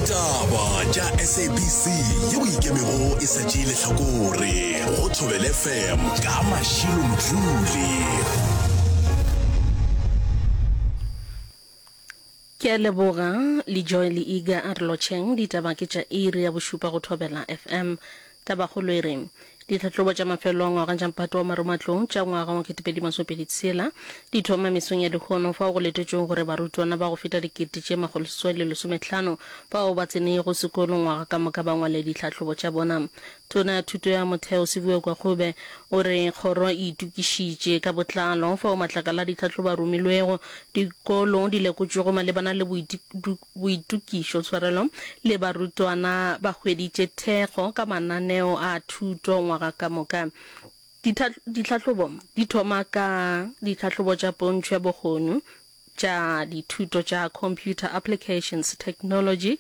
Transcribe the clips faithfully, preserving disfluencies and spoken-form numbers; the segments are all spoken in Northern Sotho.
Ditaba tša S A B C yeo ikemego e sa tšee lehlakore go Thobela F M ka Mashilo Mdluli. Ke a leboga le Joy le Iga a re lotšheng. Ditaba ke tša iri ya bošupa go Thobela F M. Tabakgolo e re ditlhahlobo tša mafelelo a ngwaga tša mphato wa maromatlou tša ngwaga wa ketepedi masomepedi tshela di thoma mesong ya lehono, fao go letetšwego gore barutwana ba go feta dikete tše makgolo seswai le lesomehlano bao ba tsenego sekolo ngwaga ka moka ba ngwale ditlhahlobo tša bona. Tona ya Thuto ya Motheo Siviwe Gwarube o re kgoro e itokišitše ka botlalo fao matlakala a ditlhahlobo a romilwego, dikolo di lekotšwego malebana le boitokišo, tshwarelo, le barutwana ba hweditše thekgo ka mananeo a thuto ngwaga ka moka. Ditlhahlobo di thoma ka ditlhahlobo tša pontšho ya bokgoni tša dithuto tša Computer Applications Technology,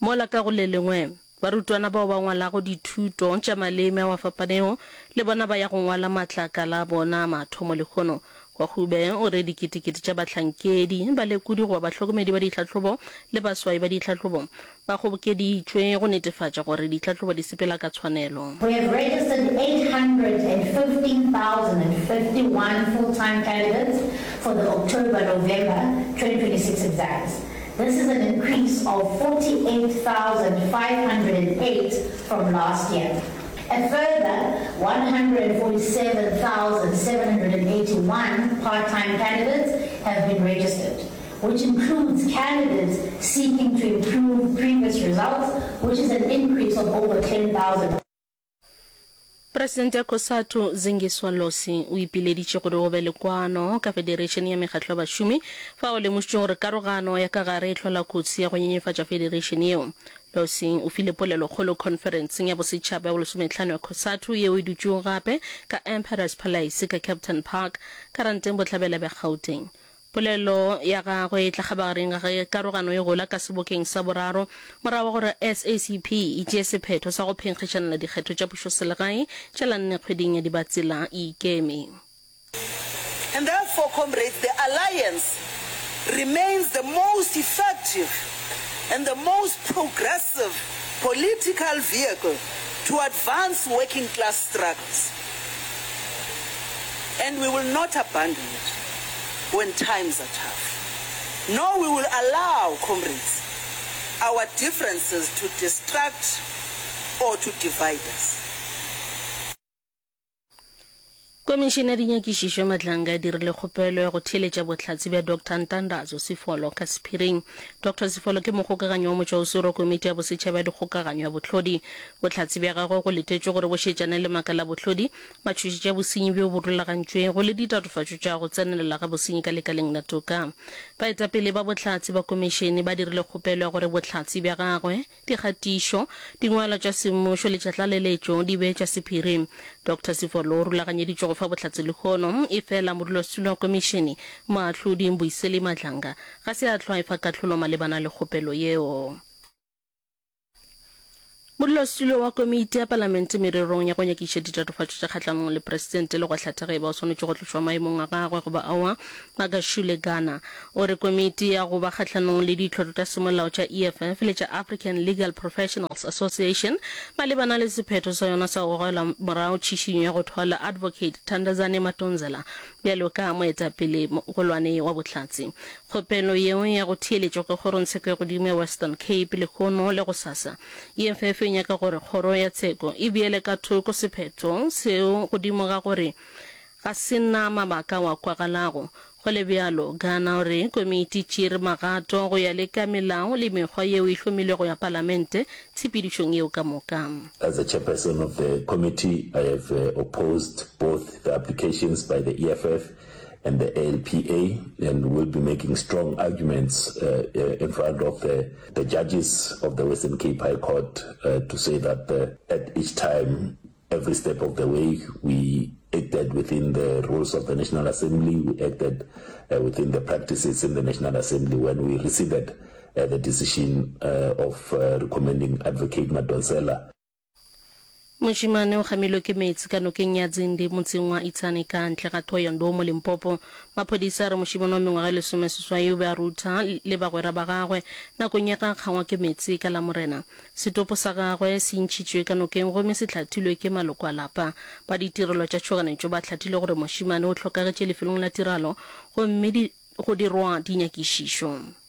mola ka go le lengwe barutwana bao ba ngwalago dithuto tša maleme ao a fapanego le bona ba ya go ngwala matlakala a bona a mathomo lehono. Gwarube o re diketekete tša bahlankedi, balekodi goba bahlokomedi ba ditlhahlobo le baswai ba ditlhahlobo ba kgobokeditšwe go netefatša gore ditlhahlobo di sepela ka tshwanelo. We have registered eight hundred and fifteen thousand and fifty-one full-time candidates for the October-November twenty twenty-six exams. This is an increase of forty-eight thousand five hundred and eight from last year. A further one hundred forty-seven thousand seven hundred eighty-one part-time candidates have been registered, which includes candidates seeking to improve previous results, which is an increase of over ten thousand. Presidente ya COSATU Zingiswa Losi o ipileditše gore go be le kwano ka federation ya mekgatlo ya bašomi, fao lemošitše gore karogano ya ka gare e hlola kotsi ya go nyenyefatša federation yeo. Losi o file polelokgolo khonferenseng ya bosetšhaba ya bolesomehlano ya COSATU yeo e dutšego gape ka Emperors Palace ka Kempton Park ka Ranteng Bohlabela bja Gauteng. Polelo ya gagwe e tla kgabagareng ga ge karogano e gola ka sebokeng sa boraro morago ga gore S A C P e tšee sephetho sa go phenkgišanela dikgetho tša pušoselegae tša la nne kgweding ya Dibatsela e ikeme. And therefore, comrades, the alliance remains the most effective and the most progressive political vehicle to advance working class struggles. And we will not abandon it when times are tough. Nor we will allow, comrades, our differences to distract or to divide us. Komišene ya Dinyakišišo ya Madlanga e dirile kgopelo ya go theeletša bohlatse bja Doctor Ntandazo Sifolo ka sephiring. Doctor Sifolo ke mokgokaganyi wa motšwaoswere wa Komiti ya Bosetšhaba ya Dikgokaganyo ya Bohlodi. Bohlatse bja gagwe go letetšwe gore bo šetšane le maaka la bohlodi, matšhošetši a bosenyi bjo bo rulagantšwego le ditatofatšo tša go tsenelela ga bosenyi ka lekaleng la toka. Baetapele ba bohlatse ba komišene ba dirile kgopelo ya gore bohlatse bja gagwe, dikgatišo, dingwalwa tša semmušo le tša tlaleletšo di be tša sephiri. Doctor Sifolo o rulaganyeditšwe go fa bohlatse lehono, efela modulasetulo wa komišene, Moahlodi Mbuyiseli Madlanga, ga se a hlwa a efa kahlolo malebana le kgopelo yeo. Modulasetulo wa Komiti ya Palamente mererong ya go nyakišiša ditatofatšo tša kgahlanong le Presidente le go hlatha ge eba o swanetše go tlošwa maemong a gagwe goba aowa, Magashule Gana, o re komiti ya go ba kgahlanong le ditlhotlo tša semolao tša E F F le tša African Legal Professionals Association malebana le sephetho sa yona sa go gogela morago tšhišinyo ya go thwala Advocate Thandazani Madonsela bjalo ka moetapele mogolwane wa bohlatse. Kgopelo yeo ya go theeletšwa ke Kgorongtsheko ya Godimo ya Western Cape lehono le gosasa. E F F e nyaka gore kgoro ya tsheko e beele ka thoko sephetho seo godimo ga gore ga se na mabaka ao a kwagalago. Go le bjalo, Gana o re komiti e tšeere magato go ya le ka melao le mekgwa yeo e hlomilwego ya palamente tshepedišong yeo ka moka. As the chairperson of the committee, I have opposed both the applications by the E F F and the A L P A and will be making strong arguments in front of the, the judges of the Western Cape High Court uh, to say that uh, at each time, every step of the way, we acted within the rules of the National Assembly, we acted uh, within the practices in the National Assembly when we received uh, the decision uh, of uh, recommending Advocate Madonsela. Mošemane o kgamilwe ke meetse ka nokeng ya Dzindi motseng wa Itsane ka ntle ga Thohoyandou mo Limpopo. Maphodisa a re mošemane wa mengwaga e lesomeseswai o be a rutha le bagwera ba gagwe nakong ya ge a kgangwa ke meetse ka Lamorena. Setopo sa gagwe se ntšhitšwe ka nokeng gomme se hlathilwe ke maloko a lapa. Ba ditirelo tša tšhoganetšo ba hlathile gore mošemane o hlokagetše lefelong la tiragalo gomme go dirwa dinyakišišo.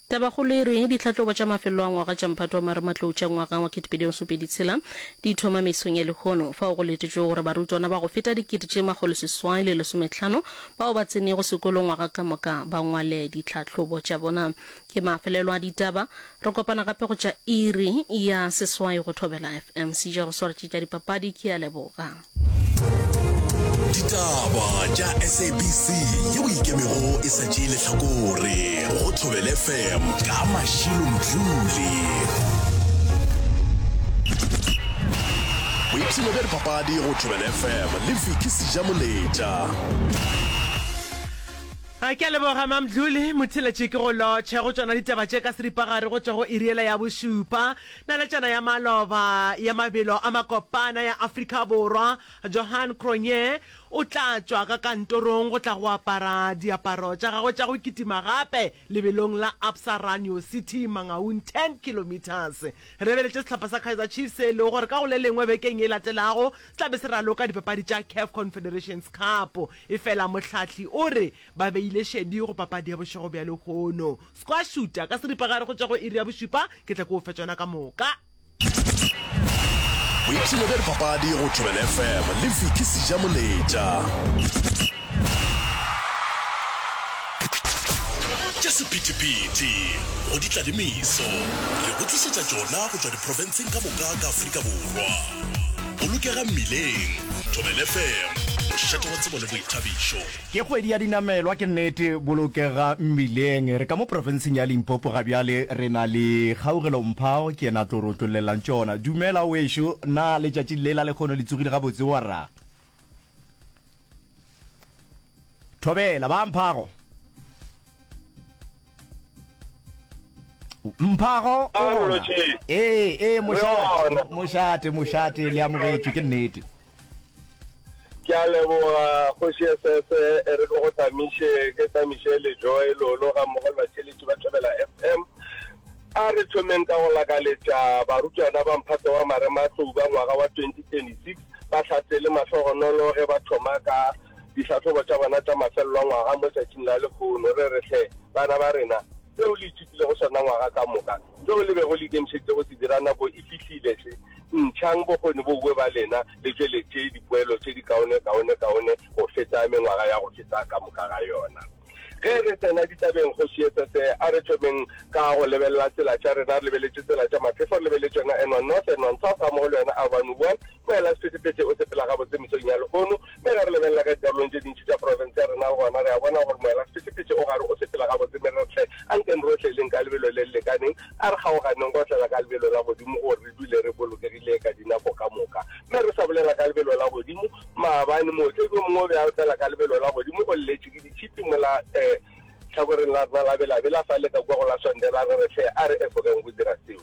Tabakgolo e re, Ditlhahlobo tša mafelelo a ngwaga tša mphato wa marematlou tša ngwaga wa kete pedi masomepedi tshela di thoma mesong ya lehono, fao go letetšwego gore barutwana ba go feta dikete tše makgolo seswai le lesometlhano bao ba tsenego sekolo ngwaga ka moka ba ngwale ditlhahlobo tša bona. Ke mafelelo a ditaba. Re kopana gape go tša iri ya seswai go Thobela F M. Seja go swaretše tša dipapadi. Ke a leboga. Ditaba tša S A B C yeo e ikemego e sa tšee lehlakore go Thobela F M ka Mashilo Mdluli. Boipshino bja dipapadi go Thobela F M le Vicky Sejamoletša. A ke a leboga Mamdluli Motheletše ke go lotšhe go tšona ditaba tše ka seripagare go tšwa go iri yela ya bošupa. Naletšana ya maloba ya mabelo a makopana ya Afrika Borwa Johan Cronje o tla tšwa ka kantorong go tla go apara diaparo tša gagwe tša go kitima gape lebelong la Absa Run Your City Mangaung ten kilometres. Re lebeletše sehlopha sa Kaizer Chiefs se e lego gore ka go le lengwe bekeng ye latelago se tla be se raloka dipapadi tša CAF Confederations Cup. Efela mohlahli o re ba beile šedi go papadi ya bošego bja lehono. Squash-uta ka seripagare go tšwa go iri ya bošupa, ke tla ke o fe tšona ka moka. Boipshino bja dipapadi go Thobela F M le Vicky Sejamoletša. Tša sephethephethe go di tla le meso, re go tlišetša tšona go tšwa diprofenseng ka moka ka Afrika Borwa. Bolokega mmileng, Thobela F M, mošate wa tsebo le boithabišo. Ke kgwedi ya dinamelwa, ke nnete, bolokega mmileng. Re ka mo profenseng ya Limpopo ga bjale, re na le Kgaugelo Mphao, ke yena a tlo re otlollelang tšona. Dumela wešo, na letšatši le la lekgono le tsogile gabotse warra? Thobela, ba Mphago. Mphago, o gona? Ee, ee, mošate, mošate, mošate, le amogetšwe, ke nnete. Ke a leboga Kgoši S S, e re ke go tamiše, ke tamiše le Joy Lolo ga mmogo le batheeletši ba Thobela F M. A re thomeng ka go lakaletša barutwana ba mphato wa marematlou ba ngwaga wa twenty twenty-six ba hlatse le mahlogonolo ge ba thoma ka dihlahlobo tša bona tša mafelelo a ngwaga mo tšatšing la lehono. Re re hle bana ba rena, seo le ithutilego sona ngwaga ka moka, seo le bego le ikemišeditše go se dira nako e fihlile hle. Ntšhang bokgoni bo bue ba lena le tšweletše dipoelo tše di kaone kaone kaone go feta mengwaga ya go feta ka moka ga yona. Ge re tsena ditabeng, Kgoši S S, a re thomeng ka go lebelela tsela tša rena, re lebeletše tsela tša maphefo, re lebeletše yona N one North, N one South, gammogo le yona A one one. Moela sephethephethe o sepela gabotse mesong ya lehono, mme ge re lebelela ka dikarolong tše dintši tša profense ya rena le gona re a bona gore moela sephethephethe o gare o sepela gabotse, mme re re hle ankeng rohle leng ka lebelo le le lekaneng, a re kgaoganeng go otlela ka lebelo la godimo gore re dule re bolokegile ka dinako ka moka. Mme re sa bolela ka lebelo la godimo, maabane mootledi o mongwe o be a otlela ka lebelo la godimo, o lletše ke ditšhipi mola um tlhakoreng la rena la Belabela fale ka kua go la Sondela, re re hle a re efogeng go dira seo.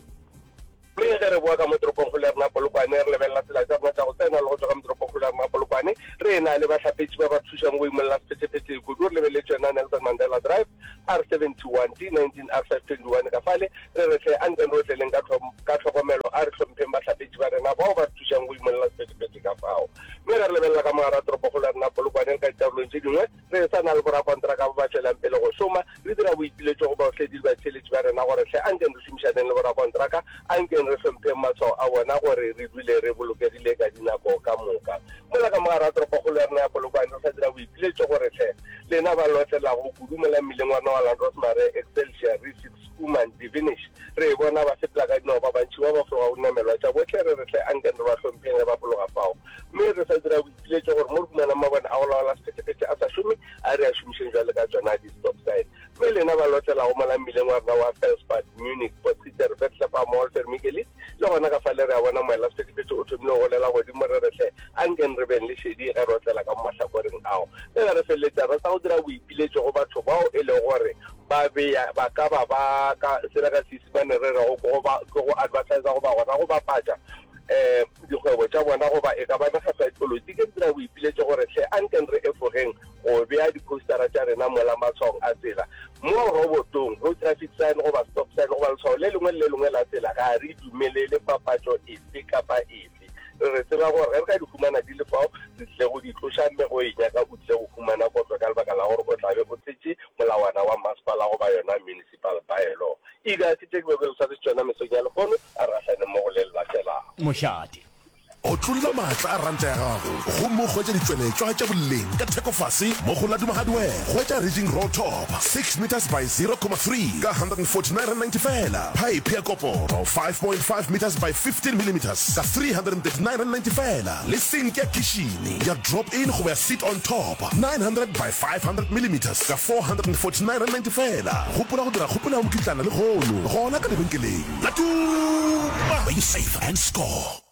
Mme ge re boa ka mo toropongkgolo ya rena Polokwane, re lebelela tsela tša rena tša go tsena le go tšwa ka mo toropongkgolo ya rena Polokwane, re e-na le bahlapetši ba ba re thušang go imolla sephethephethe kudu. Re lebeletše yona Nelson Mandela Drive, R seventy-one, D nineteen, R five twenty-one ka fale. Re re hle, anke re otleleng ka ka tlhokomelo, a re hlompheng bahlapetši ba rena bao ba re thušang go imolla sephethephethe ka fao. Mme ge re lebelela ka mo gare ga toropokgolo ya rena Polokwane le ka dikarolong tše dingwe, re sa na le borakontraka ba ba tšwelang pele go šoma. Re dira boipiletšo go baotledi le batheeletši ba rena gore hle ankeng re šomišaneng le borakontraka, ankeng re hlompheng matshwao a bona gore re dule re bolokegile ka dinako ka moka. Mola ka mo gare ga toropokgolo ya rena ya Polokwane re sa dira boipiletšo gore hle lena ba lotlelago kudu mola mmileng wa rena wa Landrosmare, Excelsior, Rissik, Schoeman, Divinish, re bona ba sepela ka dinao ba bantši ba ba fologa go dinamelwa tša bohle, re re hle ankeng re ba hlompheng ge ba fologa fao. Mme re sa dira boipiletšo gore mo re humanang mabone a go laola sephethephethe a sa šome, a re a šomišeng bjale ka tšona di-stop sign. Mme lena ba lotlelago mola mmileng wa rena wa Felspad, Munich, Potgieter, Bethlehem, Walter Michaelis, le gona ka fale re a bona moela sephethephethe o thomile go golela godimo, re re hle ankeng re beng le šedi ge re otlela ka mo mahlakoreng ao. Mme ge re feleletša re sa go dira boipiletšo go batho bao e lego gore ba bea ba ka ba ba ka sela ka Seisemane re rego ke go ba ke go advertisa goba gona go bapatša um dikgwebo tša bona goba e ka ba mekgatlo ya dipolotiki re dira boipiletšo gore hle ankeng re efogeng go bea diphousetara tša rena mola matshwaong a tsela. Mo robotong, road traffic sign goba stop sign goba letshwao le lengwe le le lengwe la tsela, ga re dumelele papatšo efe kapa efe. Re re tseba gore ge re ka di humana di le fao, re tlile go di tloša mme go e nyaka o tlile go humana kotlo ka lebaka la gore o tla be o tshetše molawana wa masepala goba yona municipal bylaw. Ega ke tše ke bego ke le swaretše tšona mesong ya lehono, a re gahlaneng mo go le le latelago. Mošate. Otlolla maatla a ranta ya gago gomme o hwetše ditšweletšwa tša boleng ka theko fase mo go Laduma Hardware. Hwetša Ridging Roll Top six metres by zero comma three ka hundred and forty nine rand ninety feela, phaephe ya koporo five point five metres by fifteen millimetres ka three hundred and thirty nine rand ninety feela le sinki ya khišini ya drop in goba ya sit on top nine hundred by five hundred millimetres ka four hundred and forty nine rand ninety feela. Gopola go dira kgopelo ya mokitlana lehono gona ka lebenkeleng Laduma where you save and score.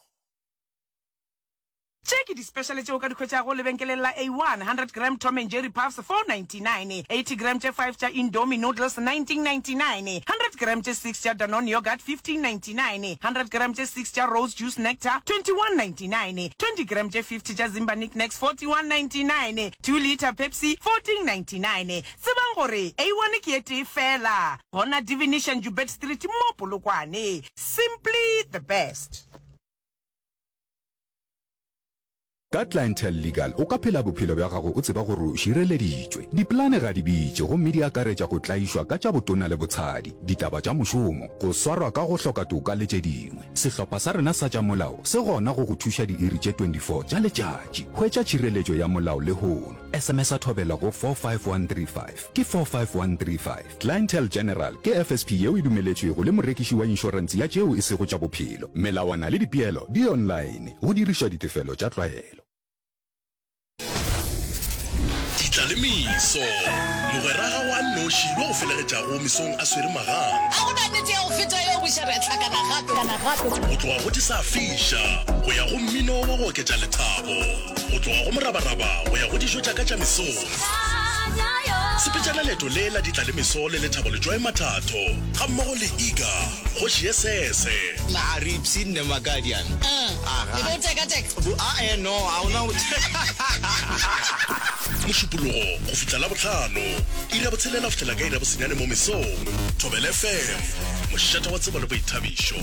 Tše ke dispešale tše o ka di hwetšago lebenkeleng la A one, hundred gram Tom and Jerry Puffs, four ninety nine, eighty gram tše five tša Indomie Noodles, nineteen ninety nine, hundred gram tše six tša Danone Yoghurt, fifteen ninety nine, hundred gram tše six tša Rose Juice Nectar, twenty one ninety nine, twenty gram tše fifty tša Zimba Knick Knacks, forty one ninety nine, two litre Pepsi, fourteen ninety nine. Tsebang gore A one ke e tee feela gona Divination Joubert Street mo Polokwane. Simply the best. Ka Clientele Legal o ka phela bophelo bja gago o tseba gore o šireleditšwe. Dipolane ga di bitše gomme di akaretša go tlaišwa ka tša botona le botshadi, ditaba tša mošomo, go swarwa ka go hloka toka le tše dingwe. Sehlopha sa rena sa tša molao se gona go go thuša diiri tše twenty four tša letšatši. Hwetša tšhireletšo ya molao lehono. S M S-a Thobela go four five one three five. Ke four five one three five. Clientele General ke F S P yeo e dumeletšwego le morekiši wa inšorense ya tšeo e sego tša bophelo. Melawana le dipeelo di online, go dirišwa ditefelo tša tlwaelo. Ditlalemiso, Mogwera gago a nnoši yo a go felegetšago mesong a swere magang. Ga go na nnete ya go feta yeo, buša re a hlakana gape. Go tloga go di sa fiša go ya go mmino wa go oketša lethabo, go tloga go morabaraba go ya go dijo tša ka tša mesong. Sepetšana leeto le la ditlalemeso le Lethabo Letšwae Mathatho gammogo le Iga Kgoši ye Sese. Na re ipshinne Makadiana? E be o tekateka? Bo, a-e, no, ga o na go. Mošupologo go fihla Labohlano, iri ya botshelela go fihlela ka iri ya bosenyane mo mesong. Thobela F M, mošate wa tsebo le boithabišo.